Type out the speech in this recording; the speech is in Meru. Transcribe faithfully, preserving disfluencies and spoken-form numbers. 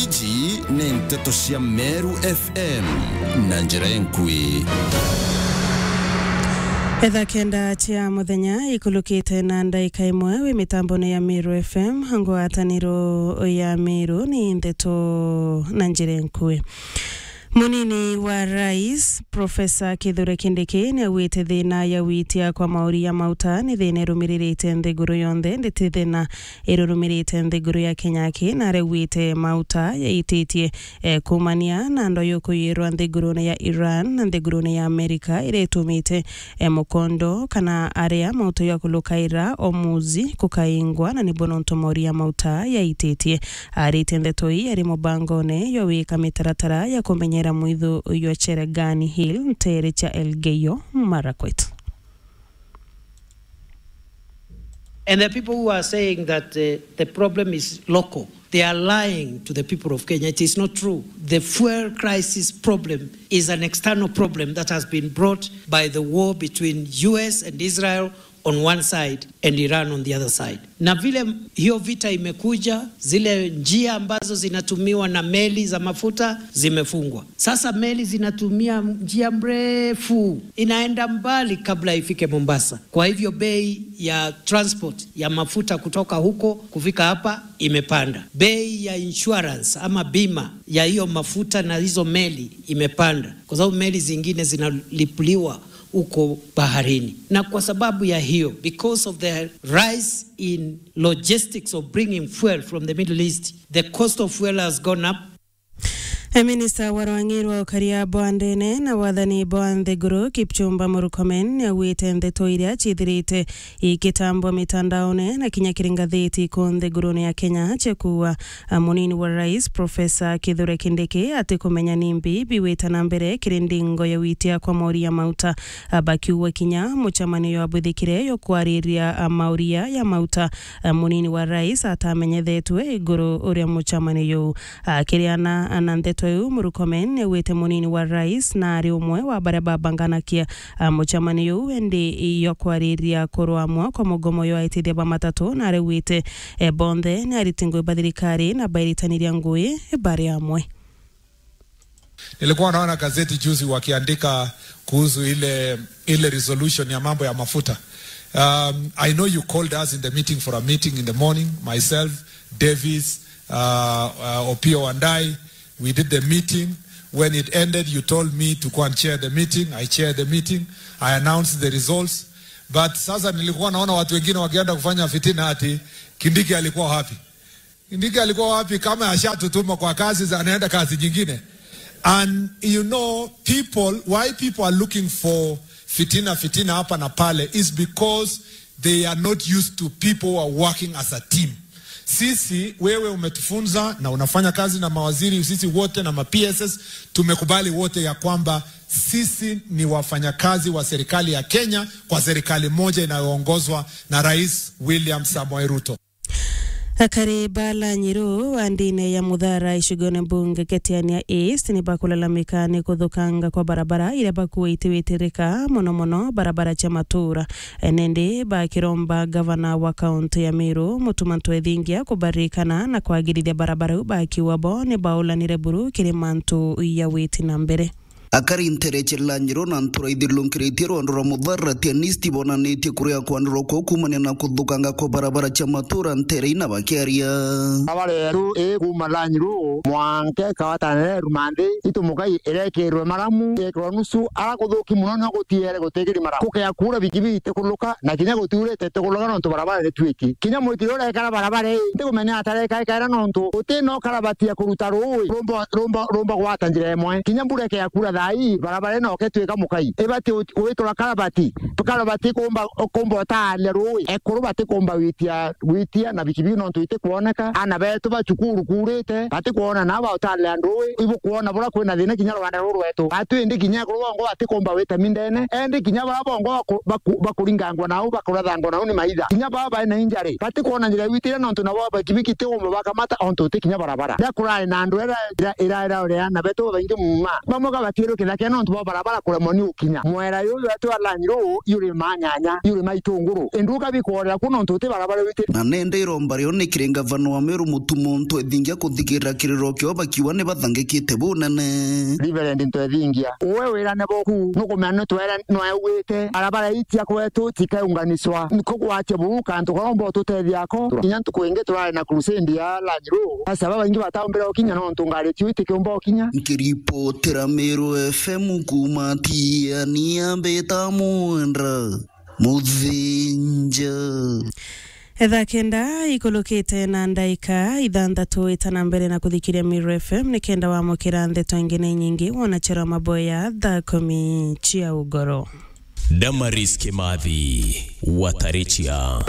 Iji ni nteto cia Meru F M na njira enkui. Etha kenda cia muthenya ikulukite na ndaika imwe wi mitambone ya Meru F M, ngwataniro ya Meru ni nteto na njira enkui. Munini wa rais, Profesa Kithure Kindiki, niaugite thina ya witia kwa mauri ya mauta ni thina irumiririte nthiguru yonthe, nditi thina irurumirite nthiguru ya Kenya aki, na araugite mauta yaititie, eh, kumania na ndo yukuyirwa nthigurune ya Iran na nthigurune ya Amerika, iria itumite, eh, mukondo kana aria mauta ya kulukaira Hormuz kukaingwa, na nibo nontu mauri ya mauta yaititie. Aritie ndeto ii ari mubangone yo wika mitaratara ya kumenyera mwithu yo Cherangani Hill, ntere cha Elgeyo Marakwet. And the people who are saying that, uh, the problem is local, they are lying to the people of Kenya. It is not true. The fuel crisis problem is an external problem that has been brought by the war between U S and Israel on one side and Iran on the other side. Na vile hiyo vita imekuja, zile njia ambazo zinatumiwa na meli za mafuta zimefungwa. Sasa meli zinatumia njia mrefu, inaenda mbali kabla ifike Mombasa. Kwa hivyo bei ya transport ya mafuta kutoka huko kufika hapa imepanda. Bei ya insurance ama bima ya hiyo mafuta na hizo meli imepanda, kwa sababu meli zingine zinalipuliwa huko baharini. Na kwa sababu ya hiyo, because of the rise in logistics of bringing fuel from the Middle East, the cost of fuel has gone up. E, minista wa rwang'i rwa ukaria bwa ndene na wathani bwa nthiguru, Kipchumba Murkomen, niaugite ndeto iria ciithirite ikitambwa mitandaone na kinya kiri ngatheti ku nthigurune ya Kenya cia kuuga, a, munini wa rais, Profesa Kithure Kindiki, atikumenya ni mbi biwita na mbere kiri ndingo ya witia kwa mauri ya mauta. A, bakiuga kinya mucemanio jwabwithikire jwa kwariria, a, mauria ya mauta, a, munini wa rais atamenyethetwe iguru uria mucemanio juu. Akiriana na ndeto iu, Murkomen niaugite munini wa rais na ari umwe wa baria babanganakia, a, mucemanio juu, indi jwa kwariria kurwamwa kwa mugomo jwa aitithia ba matatu, na araugite, e, bonthe ni ariti ngui ba thirikari na bairitaniria ngui bari amwe. Nilikuwa naona gazeti juzi wakiandika kuhusu ile, ile resolution ya mambo ya mafuta. Um, I know you called us in the meeting for a meeting in the morning, myself, Davis, uh, uh, Opiyo Wandayi. We did the meeting. When it ended, you told me to go and chair the meeting. I chaired the meeting. I announced the results. But sasa nilikuwa naona watu wengine wakienda kufanya fitina ati Kindiki alikuwa wapi? Kindiki alikuwa wapi kama ashatutuma kwa kazi za, anaenda kazi nyingine? And you know, people, why people are looking for fitina, fitina hapa na pale is because they are not used to people who are working as a team. Sisi, wewe umetufunza na unafanya kazi na mawaziri, sisi wote na ma P S S, tumekubali wote ya kwamba sisi ni wafanyakazi wa serikali ya Kenya kwa serikali moja inayoongozwa na Rais William Samoei Ruto. Akari ba Lanyiru wa ndine ya Muthara icigone mbunge Ketiania East ni bakulalamika ni kuthukanga kwa barabara iria bakuite witirika, mono mono barabara cia matura. Nindi bakiromba gavana wa kaunti ya Meru, Mutuma M'Ethingia, kubaririkana na kwagirithia barabara iu, bakiuga bo ni baulanire buru kiri mantu ya witi na mbere. Akari ntere cia Lanyiru na ntura ithirurunkiritie rwando rwa Muthara Tianisti bonanitie kuria kwanirwa kwao kuumania na kuthukanga kwa barabara cia matura ntere ina bakiaria. Barabara yeru ii kuuma Lanyiru mwanka ikawatanira Rumanthi, itu mukai irekirwe maramu, irekirwa nusu, ara kuthuki mono no gutiere gutikiri maramu. Kukea kuura bikibiki itikuluka, na kinya gutiurite itikuluka nontu barabara ni twiki. Kinya mwitiro urekara barabara ii, ntikumenya atareka ikaira nontu guti no karabati ya kuruta ruui rumba, rumba, rumba gwata njira imwe. Kinya mbura ikea kuura thaa ii, barabara ino iketwika mukai. Ibati u-, witura karabati, karabati kumba, kumba utaania ruui. Ekuru batikumba witia, witia na bikibiki nontu itikwoneka. Ana betu ba cukuru kuurite, batikwona nabo bautaania ruui. Ibukwona bura kwina thina kinya rwanda ruru rwetu. Atu indi kinya ekuru bongo batikumba wita mindene. Endi kinya bara bongo baku-, baku-, bakuringangwa nau, bakurathangwa nau ni maitha. Kinya baba baina injari, batikwona njira iwitire nontu nabo bikibiki tikumba bakamata ontu uti kinya barabara. Ria kurari na andu era ira, ira, ira, ira, na betu babaingi muma. Bamwe kabatiere Kithake nontu bwa barabara kuremwa ni ukinya. Mwera yuyu wetu wa Lanyiro yuri manyanya, yuri maitunguru. Induka bikworera ku nontu uti barabara witi. Na nende iromba rio ni kiri ngavana wa Meru Mutuma Ntwethingia kuthikirira kiriro kio bakiuga ni bathangikite bunene. Reverend Ntwethingia, uwe wirane boku, nukumenya ni twere nwewite. Barabara ii cia kwetu cikaunganiswa. Niko gwatia buu kantu karomba ututethia ako. Kinya ntuku ingi turari na crusade ya Lanyiro. Asa babaingi bataumbire ukinya nontu ngari tiu itikiumba ukinya. Nkiripotera Meru F M kuuma Tiania, mbita Mwendra Muthinja. Etha kenda ikulukite na ndaika ithanthatu, itana mbere na kuthikiria Meru F M ni kenda wamukira ndeto ingi ni nyingi wona chero maboya thaa kumi cia ugoro. Damaris Kimathi, Watarichia.